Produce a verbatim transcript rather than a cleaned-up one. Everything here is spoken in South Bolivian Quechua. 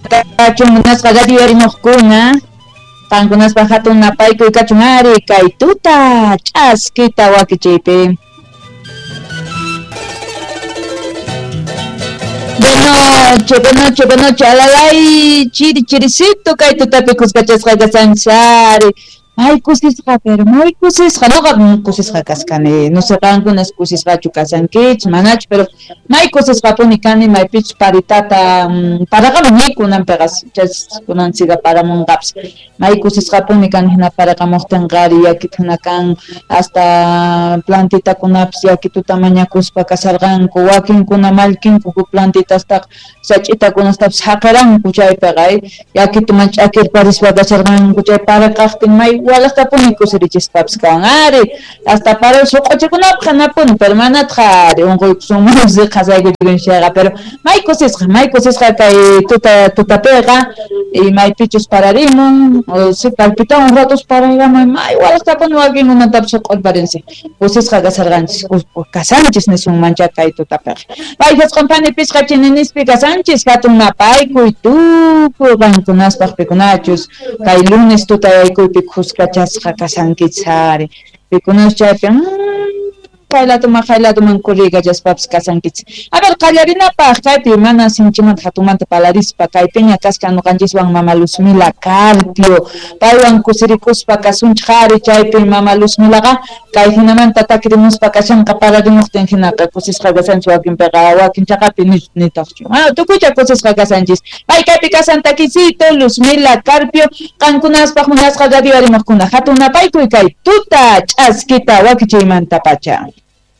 Kachun munasqa radio arimojkuna, qankunaspa hatun napaykuy kachun ari kay tuta ch'askita wakichiypi. Buenoche, buenoche, buenoche, alalay, chiri chiricito kay tutapi kuskachasqa kasanchari. May kusisqa, pero may kusisqa, noqa kusisqa kaskani, no sé qankunas kusisqachu kasankichis, manachu, pero may kusisqapuni kani, maypichus paritata paraqamun kunanpiqa chas kunan siga paramunqapis, may kusisqapuni kani hina paraqamuqtinqa ari yakita hina kan, hasta plantitakunapis yakituta mañakuspa kasarqanku, wakinkuna mallkinku plantitastaqa sach'itakunastapis haqiranku chaypiqa, yakituman ch'akirparispa kasarqanku, chay paraqaqtin may walaqtapuni kusirichispapis kan ari, hasta para suq'uchikunapaq hanapuni, pero manataq ari unquykusunmanpis qhasaykuchikun chayqa, pero may kusisqa, may kusisqa kay tuta tutapiqa, y maypichus pararimun, si palpitawan ratos parayramun, may walaqtapuni wakinkunatapis suq'urparinsi, kusisqa kasarqanchis, kasanchis nisunmancha kay tutapiqa. Payjasqanpani pisqa chininispi kasanchis, hatun napaykuy tukuy qankunaspaq pikunachus, kay lunes tutayaykuypi kuskachasqa kasankichis ari, pikunas chaypi kaylatuman haylatuman kurriykachaspapis kasankichis. A ver, qallarinapaq kaypi mana sinchimanta hatunmanta palarispa kaypiña kasqa ñuqanchiswan mama Luzmila Carpio, paywan kusirikuspa kasunchik ari, chaypi mama Luzmilaqa kay hinamanta takirimuspa kashanqa pararimuqtin hinaqa kusisqa kasanchis wakinpiqa wakin chaqapi nitaqchu. Bueno, tukuycha kusisqa kasanchis. Pay kaypi kasan takisito Luzmila Carpio, qankunaspaq munasqa radio arimaqkuna hatun napaykuy kay tuta ch'askita wakichiymantapacha.